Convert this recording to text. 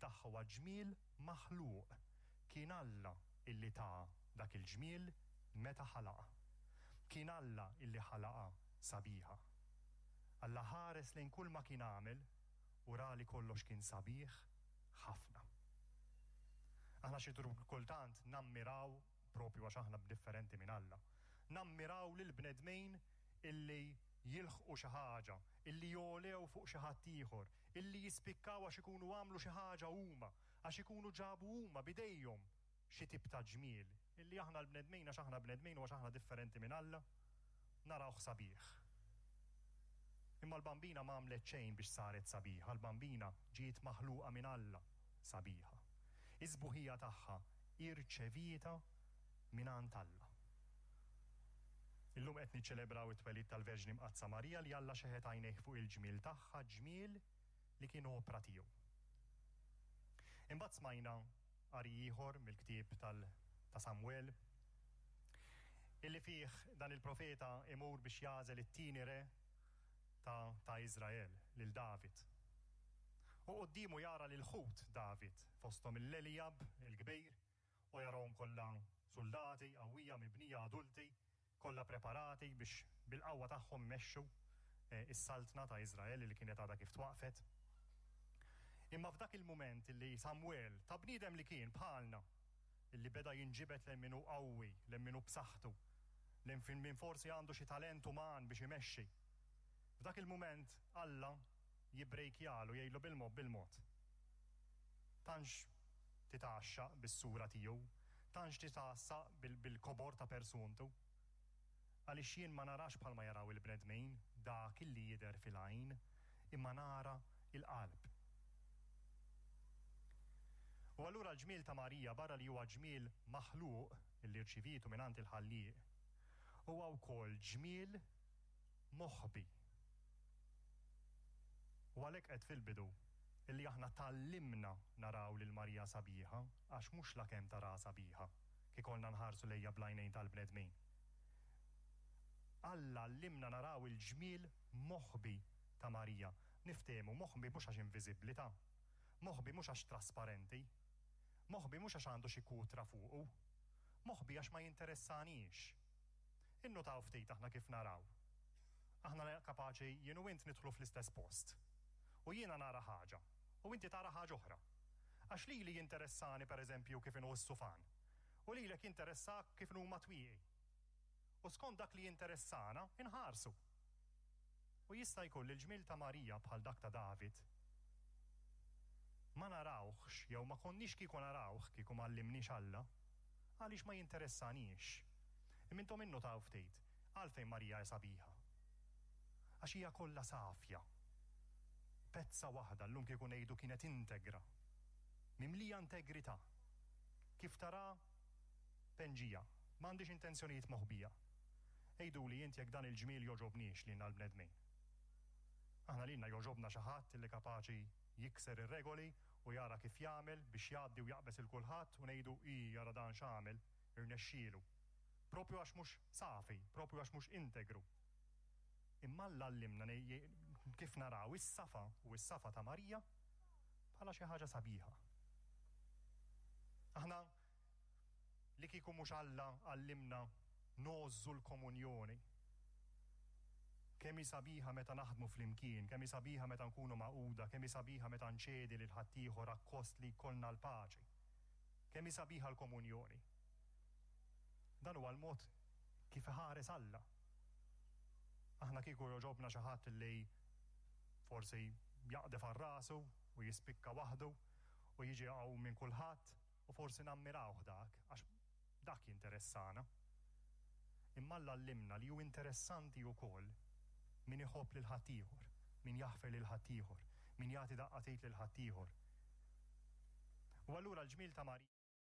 tagħha huwa ġmiel maħluq. Kien Alla illi taha dak il-ġmiel meta ħalaqha. Kien Alla illi ħalaqha sabiħa. Alla ħares lejn kull ma kien għamel u ra li kollox kien sabiħ ħafna. Aħna xi kultant nammiraw, propju għax aħna differenti minn Alla, nammiraw lill-bnedmin illi jilħqu xi ħaġa, illi jogħlew fuq xi ħadd ieħor, illi jispikkaw għax ikunu għamlu xi ħaġa huma, għax ikunu ġabu huma b'idejhom xi tip ta' ġmiel, illi aħna l-bnedmin għax aħna bnedmin u għax aħna differenti minn Alla, narawh sabiħ. Imma l-Bambina ma għamlet xejn biex saret sabiħa, l-Bambina ġiet maħluqa minn Alla sabiħa. Is-sbuħija tagħha irċevietha mingħand Alla. Illum qed niċċelebraw it-twelid tal-Verġni Mqaddsa Marija li Alla xeħet għajnejh fuq il-ġmiel tagħha, ġmiel li kien opra tiegħu. Imbagħad smajna qari ieħor mill-ktieb tal ta' Samwel illi fih dan il-profeta imur biex jagħżel it-tieni re ta' ta' Iżrael, lil David. U quddiemu jara lil ħut David, fosthom il-Elijab il-kbir, u jarahom kollha suldati qawwija, mibnija, adulti, kollha preparati biex bil-qawwa tagħhom imexxu s-saltna ta' Iżrael li kienet għadha kif twaqqfet. Imma f'dak il-mument li Samwel, ta' bniedem li kien bħalna, li beda jinġibed lejn min hu qawwi, lejn min hu b'saħħtu, lejn min forsi għandu xi talent uman biex imexxi, f'dak il-mument Alla jibbrejkjalu, jgħidlu bil-mod bil-mod. Tantx titgħaxxaq bis-sura tiegħu, tantx titgħassaq bil-kobor ta' persuntu. Għaliex jien ma narax bħalma jaraw il-bnedmin dak illi jidher fil-għajn, imma nara l-qalb. U allura l-ġmiel ta' Marija, barra li huwa ġmiel maħluq illi rċivietu mingħand il-Ħallieq, huwa wkoll ġmiel moħbi. U għalhekk għedt fil-bidu illi aħna tgħallimna naraw lil Marija sabiħa għax mhux lakemm taraha sabiħa, kiekolna nħarsu lejha bl-għajnejn tal-bnedmin. Alla għallimna naraw il-ġmiel moħbi ta' Marija. Niftehmu, moħbi mhux għax inviżibbli ta'. Moħbi mhux għax trasparenti. Moħbi mhux għax għandu xi kutra fuqu. Moħbi għax ma jinteressaniex. Innutaw ftit aħna kif naraw. Aħna kapaċi jien u int nidħlu fl-istess post. U jiena nara ħaġa, u inti tara ħaġa oħra. Għax lili jinteressani pereżempju kif inhu s-sufan. U lilek jinteressak kif inhuma t-twieqi. U skont dak li jinteressana, inħarsu. U jista' jkun li l-ġmiel ta' Marija bħal dak ta' David ma narawhx jew ma konniex kieku narawh kieku m'għallimniex Alla, għaliex ma jinteressaniex. Imma intom innutaw ftit, għalfejn Marija hi sabiħa? Għax hija kollha safja. Pezza waħda, llum kieku ngħidu kienet integra. Mimlija integrità. Kif tara penġija. M'għandhiex intenzjonijiet moħbija. Għiduli int jekk dan il-ġmiel jogħġobniex lilna l-bnedmin. Aħna lilna jogħġobna xi ħadd li kapaċi jikser ir-regoli u jara kif jagħmel biex jgħaddi u jaqbeż 'il kulħadd u ngħidu ii ara dan x'għamel, irnexxielu. Proprju għax mhux safi, proprju għax mhux integru. Imma Alla għallimna kif naraw is-safa u s-safa ta' Marija bħala xi ħaġa sabiħa. Aħna li kieku mhux Alla għallimna ngħożżu l-komunjoni. Kemm hi sabiħa meta naħdmu flimkien, kemm hi sabiħa meta nkunu magħquda, kemm hi sabiħa meta nċedi lil ħaddieħor akkost li jkollna l-paċi. Kemm hi sabiħa l-komunjoni. Dan huwa l-mod kif iħares Alla. Aħna kieku jogħġobna xi ħadd li forsi jaqdef għal rasu u jispikka waħdu u jiġi aqwa minn kulħadd u forsi nammirawh dak għax dak jinteressana. Imma Alla għallimna li hu interessanti wkoll min iħobb lil ħaddieħor, min jaħfer lil ħaddieħor, min jagħti daqqa t'id lil ħaddieħor. U allura l-ġmiel ta' Marija.